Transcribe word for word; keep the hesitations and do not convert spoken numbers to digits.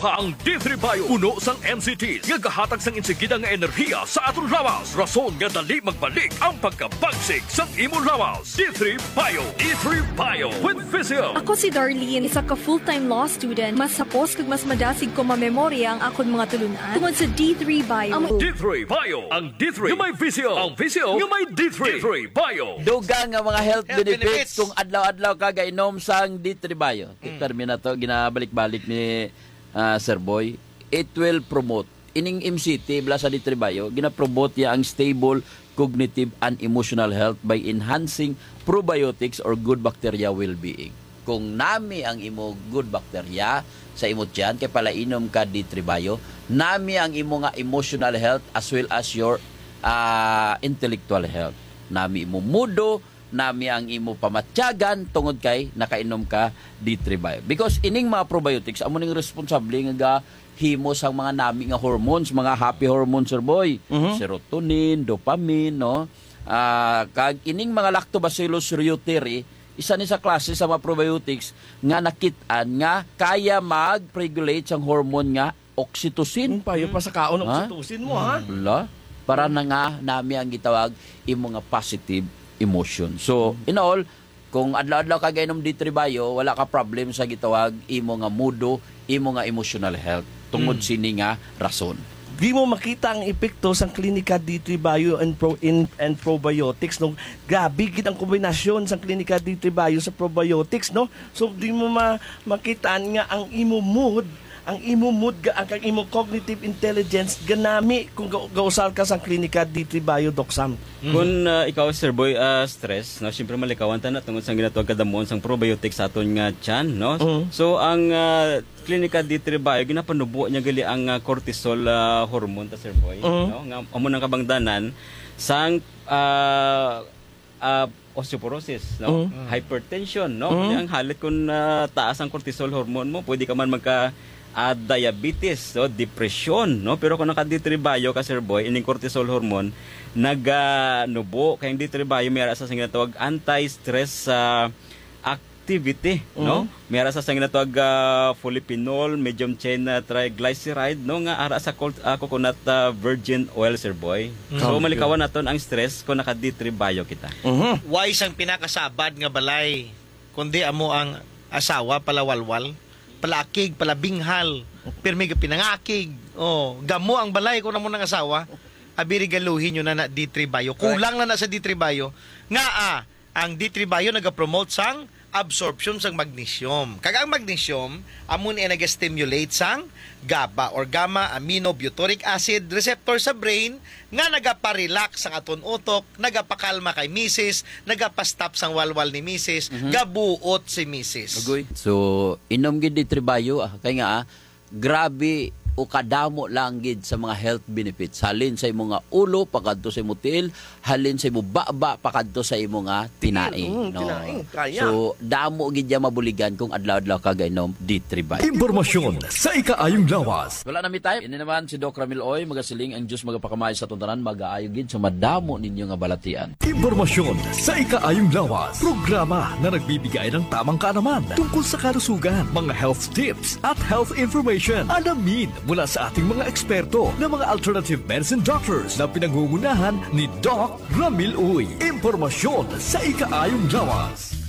pa ang D three Bio, puno sang N C Ts nga gahatag sang insigida nga enerhiya sa aton lawas, rason nga dali magbalik ang pagkabagsik sang imong lawas. D three Bio, D three Bio with Visil. Ako si Darlene, isa ka full-time law student. Mas hapos kag mas madasig ko mamemorya ang akon mga tulunan tungod sa D three Bio. Amo D three Bio, ang D three nga may Visil, ang Visil nga may D three. D three Bio. Dugang nga mga health Health benefits benefits. Kung adlaw-adlaw ka gainom sang D three Bio. Mm. Termina to, ginabalik-balik ni, ah, Sir Boy. It will promote. Ining M C T, bala sa D three Bio, ginapromote niya ang stable cognitive and emotional health by enhancing probiotics or good bacteria well-being. Kung nami ang imo good bacteria sa imo tiyan, kay palainom ka D three Bio, nami ang imo nga emotional health as well as your, ah, intellectual health. Nami imo mudo, nami ang imo pamatyagan tungod kay nakainom ka D three Bio. Because ining mga probiotics, amo ning responsable nga gahimo sang mga nami nga hormones, mga happy hormones, Sir Boy. Mhm. Serotonin, dopamine, no? Ah, kag ining mga Lactobacillus reuteri, isa ni sa klase sa mga probiotics nga nakit-an nga kaya mag-regulate sang hormone nga oxytocine. Ang payo pa sa kaon, Ha? oxytocin mo, ha? Wala. Para na nga nami ang gitawag imo nga positive emotion. So, in all, kung adlaw-adlaw ka gainom D three Bio, wala ka problem sa gitawag imo nga mudo, imo nga emotional health. Tungod Mm. sini nga rason. Di mo makita ang epekto sang Klinika D three Bio and, pro, in, and probiotics, no? Grabe gid ang kombinasyon sang Klinika D three Bio sa probiotics, no? So, di mo ma, makita nga ang imo mood, ang imo mood, ga, ang imo cognitive intelligence, ganami kung ga, gausar ka sang Klinika D three Bio, Doc Sam. Mm. Kung, ah, ikaw, Sir Boy, ah, stress, no? Siyempre, malikawan ta na tungod sa ginatawag kadamuon sang probiotics sa aton nga tiyan, no? Mm. So, ang, ah, Klinika D three Bio, ginapanubo niya gali ang, ah, cortisol, ah, hormone ta, Sir Boy, Mm. no? Nga amo nang kabangdanan sang, ah, ah, osteoporosis, no? Mm. Hypertension, no? Mm. Kaya ang halit kung, ah, taas ang cortisol hormone mo, pwede ka man magka, ah, diabetes, no? Depresyon, no? Pero kung naka D three Bio ka, Sir Boy, ining cortisol hormone, naganubo. Kaya ang D three Bio, may ara sa ginatawag anti-stress, ah, activity, no? Mm. May ara sa sang ginatawag, ah, polyphenol, medium chain, ah, triglyceride, no? Nga ara sa col-, ah, coconut, ah, virgin oil, Sir Boy. Mm. So, Thank you. malikawan naton ang stress kung naka D three Bio kita. Mhm. Why sang pinakasabad nga balay, kundi amo ang asawa palawalwal, palaakig, palabinghal, pirmi ga pinangakig. Oh, gamo ang balay kung amo nang asawa. Abi, regaluhin nyo na na D three Bio. Correct. Kulang na na sa D three Bio. Nga, ah, ang D three Bio nagapromote sang absorption sang magnesium. Kag ang magnesium, amo ni ang naga-stimulate sang GABA or gamma aminobutyric acid receptor sa brain nga nagapa-relax ang aton utok, nagapakalma kay misis, nagapa-stop sang walwal ni misis, Mhm. gabuot si misis. Agoy. So, inom gid D three Bio, ah, kay nga, ah, grabe o kadamo lang gid sa mga health benefits. Halin sa imo nga ulo, pakadto sa imo tiil, halin sa imo baba, pakadto sa imo nga tinai, Mm, no? tinai, kaya. So, damo gid ya mabuligan kung adlaw-adlaw ka gainom D three Bio. Impormasyon sa ikaayong lawas. Wala na mi time. Ini naman si Doc Ramil Uy, magasiling ang Diyos magapakamay sa atong tanan, magaayo gid sa madamo ninyo nga balatian. Impormasyon sa ikaayong lawas. Programa na nagbibigay ng tamang kaalaman tungkol sa kalusugan, mga health tips at health information. Alamin mula sa ating mga eksperto na mga alternative medicine doctors na pinangungunahan ni Doc Ramil Uy. Impormasyon sa ikaayong lawas.